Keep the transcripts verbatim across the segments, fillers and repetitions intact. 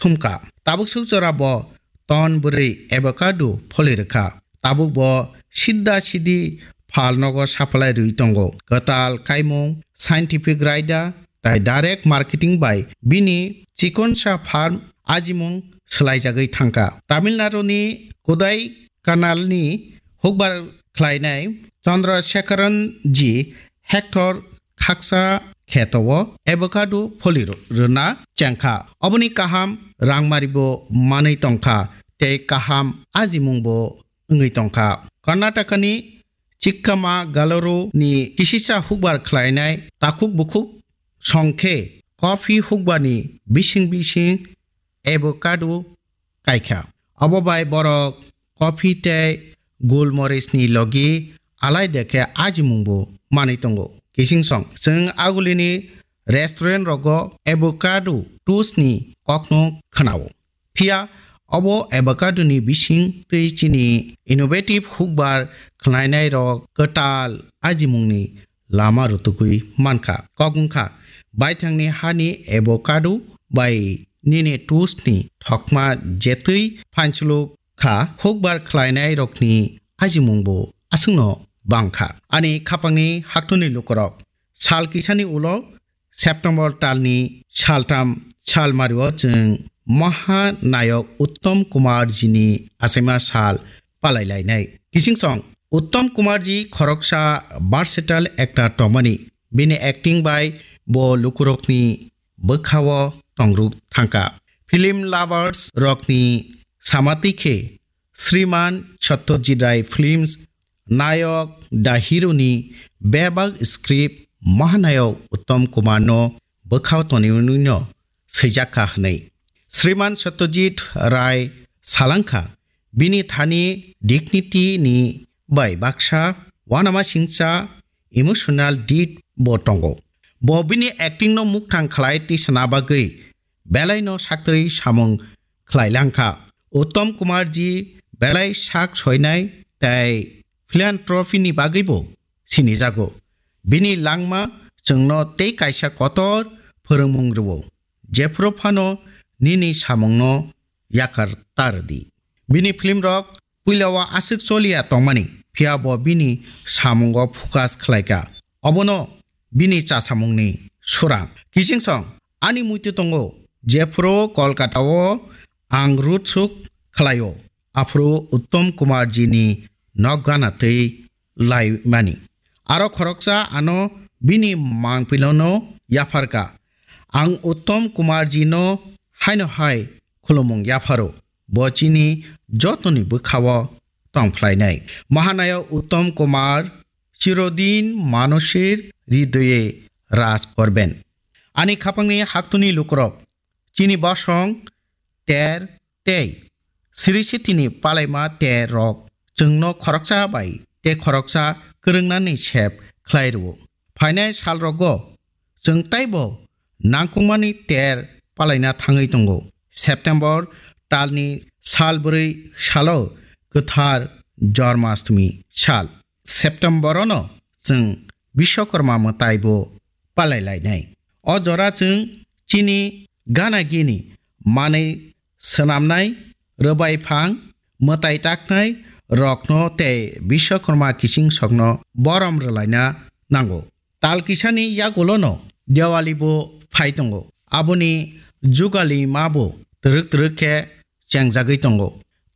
thumkha. Tabuk suk jora bo ton bwrwi avocado pholi rwkha. Tabuk bo sidda sidi phal nogo sapalai rwi tongo. Kwtal kaimung, scientific raida, tai direct marketing bai bini chikonsa farm ajimung swlaijagwi thangkha. Tamil Nadu ni Kodai Kanal ni hukbar khlainai Chandra Sekharan ji hectare khaksa kheto o avocado pholi rw-, rwna chengkha. Oboni kaham rangmari bo manwi tongkha tei kaham ajimung bo wngwi tongkha. Karnataka ni Chikkamagalaru ni kisisa hukbar khlainai takhuk bukhuk songkhe coffee hukbar ni bising bising avocado kaikha. Abo bai borok coffee tei gulmoris ni logi alai dekhe ajimung bo manwi tongo. Kising song, chwng agulini restaurant rogo avocado toast ni kokno khwnao. Phiya obo avocado ni bising twi chini innovative hukbar khwlainai rok kwtal ajimung ni lama rutugwi mankha. Kok wngkha, baithangni hani avocado bai nini toast ni thokma jetwi phanchuluk kha, hukbar khlainai rokni ajimung bo aswkno bangkha. Ani khapangni haktuni lukurok, sal kisani ulo September talni saltham salmario chwng Mahanayok Uttam Kumar jini achaima sal palai lainai. Kising song, Uttam Kumar ji khoroksa versatile actor tongmani. Bini acting bai bo lukurokni bwkhao tongruk thangkha. Film lovers rokni samatwi khe Shriman Satyajit Rai Films nayok da hero ni bebak script Mahanayok Uttam Kumar no bwkhao tonwi no swijak kha hwnwi. Shriman Satyajit Rai salangkha, bini thani dignity ni bai baksa uanama singcha emotional debt bo tongo. Bo bini acting no mukthang khlai tisana bagwi belai no saktwi samung khlai langkha. Uttam Kumar ji belai sak soinai tei philanthropy ni bagwi bo sinijago. Bini langma chwngno tei kaisa kotor phwrwngmung rwo. Jephru phano nini samungno yakar ta rwdi. Bini film rok puila o aswk choliya tongmani, phiya bo bini samungo focus khlaikha. Obono bini chasamungni surang. Kising song, ani muitu tongo, jephru Kolkata o ang road show khlaio, aphuru Uttam Kumar ji ni nok gana twi laimani. Aro khoroksa ano bini mangpilano yapharkha. Ang Uttam Kumar ji no haino hai khulumung yapharo. Bo chini jotoni bwkhao tongphlainai. Mahanaya Uttam Kumar chirodin manushir hridoye raj korben. Ani khapangni haktuni lukurok, chini bosong ter tei siri sitini palaima ter rok chwngno khoroksa bai tei khoroksa kwrwngnani sep khlai rwo. Phainai salrogo chwng taibo nangkukmani ter palaina thangwi tongo. September talni sal bwrwi salo kwthar Jormashtami sal. September-ono chwng Bishwakarma mwtai bo palai lainai. O jora chwng chini gana gini manwi swnamnai, rwbai phang, mwtai taknai rokno tei Bishwakarma kiching sokno borom rwlaina nango. Tal kisani yagulono Diwali bo phai tongo. Aboni jugali ma bo twrwk twrwk khe chengjagwi tongo.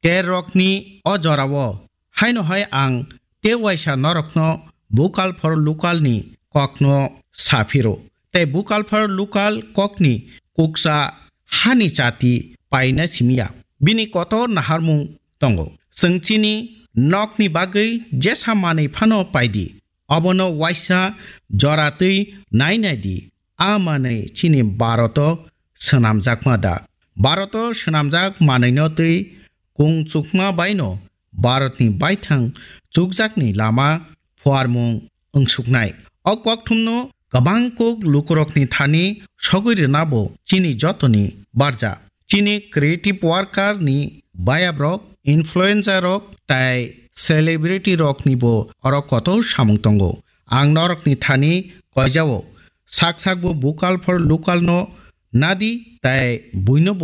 Ter rokni o jorao haino hai ang tei waisa norokno vocal for local ni kokno saphiro. Tei vocal for local kokni kuksa hani chati paina simiya. Bini kotor naharmung tongo. Chwng chini nokni bagwi jesa manwi phano paidi. Obono waisa jora twi nai nai di, a manwi chini Bharat-o swnamjakma da? Bharat-o swnamjak manwino twi kung chukma baino Bharatni baithang chukjakni lama phuarmung wngsuknai. O kokthumno kwbang kuk lukurokni thani sogwi rwna bo chini jotoni barja. Chini creative worker ni bayabrok, influencer rok tai celebrity rok ni bo oro kotor samung tongo. Ang norok ni thani koijao sak sak bo vocal for local no nadi tai buino bo